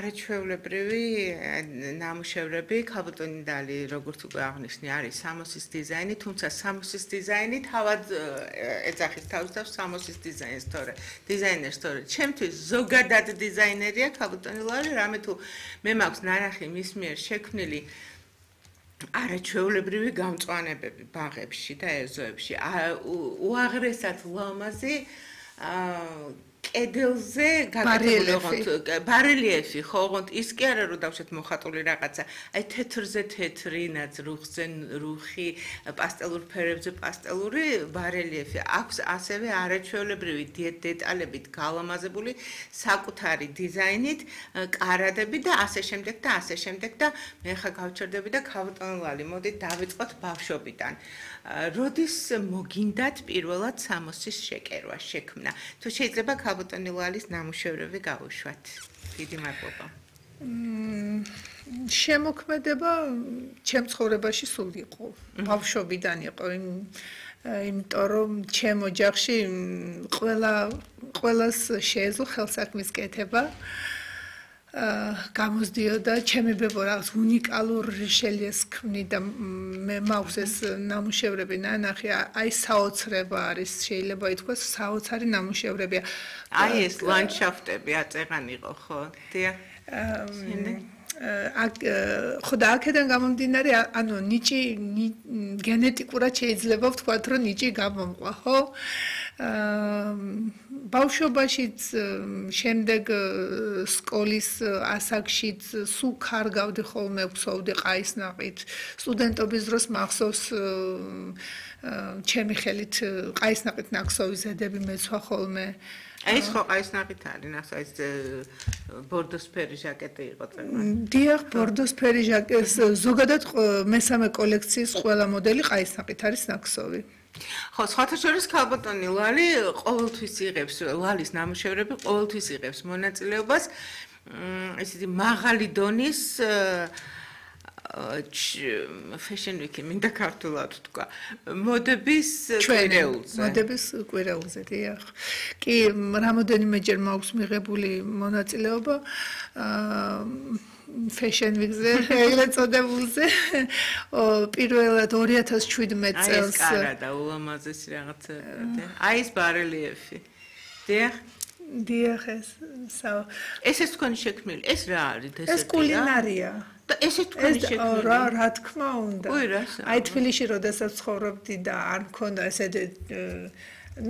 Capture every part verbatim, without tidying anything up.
არაჩვეულებრივი ნამუშევრები, ქალბატონი როგორც უკვე აღნიშნე, არის სამოსის დიზაინი, თუმცა სამოსის დიზაინი თავად ეძახის თავს და სამოსის დიზაინს თორე დიზაინერს თორე ჩემთვის ზოგადად დიზაინერია ქალბატონი ლალი, რამე თუ მე მაქვს ნარახი მის მიერ შექმნილი არაჩვეულებრივი გამწვანებები ბაღებში და ეზოებში. უაღრესად ლამაზი კედელზე გაკეთებული ბარელიეფი, ხო, ოღონდ ის კი არა რომ დავშეთ მოხატული რაღაცა, აი თეთრზე თეთრი, ნაძრუხზე რუხი, პასტელურ ფერებზე პასტელური ბარელიეფი. აქვს ასევე არაჩვეულებრივი დეტალებით გალამაზებული საკუთარი დიზაინით, კარადები და ასე შემდეგ და ასე შემდეგ და მე ხა გავჩერდები და ქალბატონი ლალი, მოდით დავიწყოთ ბავშვობიდან. როდის მოგინდათ პირველად სამოსის შეკერვა, შექმნა? თუ შეიძლება ქალბატონი ვალის ნამუშევრები გავუშვათ. დიდი მადლობა. შემოქმედება ჩემ ცხოვრებაში სულ იყო. ბავშვობიდან იყო, იმიტომ რომ ჩემ ოჯახში ყველა ყველას შეეძლო ხელსაქმის კეთება. გამოსდიოდა ჩემი ბებო რაღაც უნიკალურ რეჟელიეს ქმნიდა მე მაქვს ეს ნამუშევრები ნანახი აი საოცრება არის შეიძლება ითქვას საოცარი ნამუშევრებია აი ეს ლანდშაფტები აწეღან იყო ხო დიახ ხო და აქედან გამომდინარე ანუ ნიჭი გენეტიკურად შეიძლება ვთქვათ რომ ნიჭი გამომყვა ხო ბავშვობაშიც შემდეგ სკოლის ასაკშიც სულ კარგავდი ხოლმე ვცოვდი ყაისნაყით სტუდენტობის დროს მახსოვს ჩემი ხელით ყაისნაყით ნაკსოვი ზედები მეცვა ხოლმე ეს ხო ყაისნაყით არის ნახე ეს ბორდოსფერი ჟაკეტი იყო წეგმა დიახ ბორდოსფერი ჟაკეტი ზოგადად მესამე კოლექციის ყველა მოდელი ყაისნაყით არის ნაკსოვი ხო, სხვათა შორის ქალბატონი ლალი ყოველთვის იღებს ლალის ნამუშევრები ყოველთვის იღებს მონაწილეობას ესეთი მაღალი დონის fashion week-ი მინდა ქართულად თქვა მოდების კვირეულზე მოდების კვირეულზე დიახ კი რამოდენიმეჯერ მაქვს მიღებული მონაწილეობა fashion week-ზე ეგრეთ წოდებულზე პირველად ორი ათას შვიდმეტ წელს აი ეს კარა და ულამაზესი რაღაცა აი ეს ბარელიეფი დიახ დიახ ეს საო ეს ეს თქვენი შექმნილი ეს რა არის ეს ეს კულინარია და ესე თქვენი შექმნილი რა რა თქმა უნდა უი რა აი თბილისში როდესაც ცხოვრობდი და არ მქონდა ესე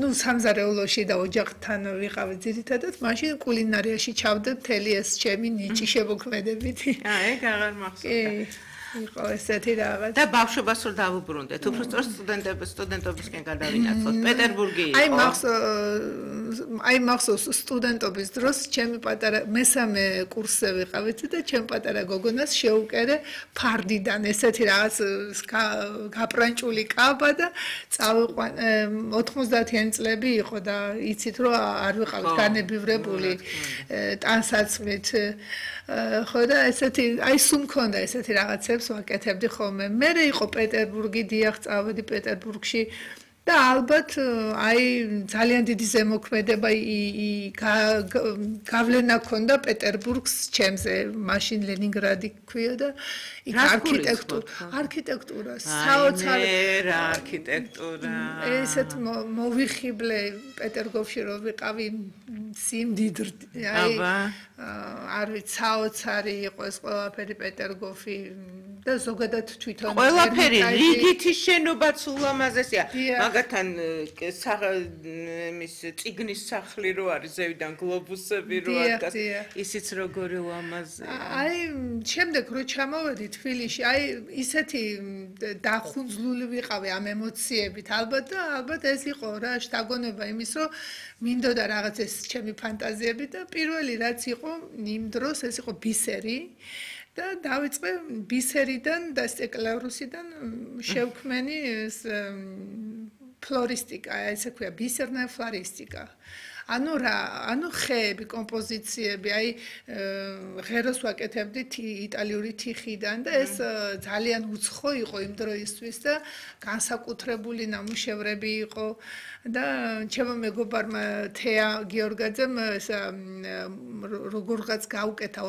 ну სამზარეულოში და ოჯახთან ვიყავი ძირითადად მაშინ კულინარიაში ჩავდე მთელი ეს ჩემი ნიჭი შემოქმედებით აა ეგ აღარ მახსოვდა იყო ესეთი რაღაც და ბავშვობას რომ დავუბრუნდეთ უბრალოდ სტუდენტების სტუდენტობისკენ გადავინაცვლოთ პეტერბურგი იყო აი მახსოვს აი მახსოვს სტუდენტობის დროს ჩემი პატარა მესამე კურსზე ვიყავით და ჩემ პატარა გოგონას შეუკერე ფარდიდან ესეთი რაღაც გაპრანჭული კაბა და წავიყვან ოთხმოცდაათიანი წლები იყო და იცით რომ არ ვიყავით განებივრებული ტანსაცმლით ხო და ესეთი აი სულ მქონდა ესეთი რაღაცებს ვაკეთებდი ხოლმე მე იყო პეტერბურგი დიახ წავედი პეტერბურგში და ალბათ აი ძალიან დიდი ზემოქმედება გავლენა ქონდა პეტერბურგს ჩემზე მაშინ ლენინგრადი ქვია და იქ არქიტექტურა არქიტექტურა საოცარი რა არქიტექტურა ესეთ მოვიხიბლე პეტერგოფში რომ ვიყავი სიმდიდრე აი არ ვიცი საოცარი იყო ეს ყველაფერი პეტერგოფი და ზოგადად თვითონ ყველაფერი რიგითი შენობაც ულამაზესია მაგათთან მის წიგნის სახლი რო არის ზევიდან გლობუსები რო არის ისიც როგორი ულამაზია აი შემდეგ რო ჩამოვედი თბილისში აი ისეთი დახუნძლული ვიყავი ამ ემოციებით ალბათ და ალბათ ეს იყო რა შთაგონება იმის რომ მინდოდა რაღაც ეს ჩემი ფანტაზიები და პირველი რაც იყო იმ დროს ეს იყო ბისერი და დავიწყე ბისერიდან და სტეკლარუსიდან შევქმენი ეს ფლორისტიკა, ესე ქვია ბისერნა ფლორისტიკა. ანუ რა, ანუ ხეები, კომპოზიციები, აი ღეროს ვაკეთებდი იტალიური თიხიდან და ეს ძალიან უცხო იყო იმ დროისთვის და განსაკუთრებული ნამუშევრები იყო და ჩემო მეგობარმა თეა გიორგაძემ ეს როგორღაც გაუკეთა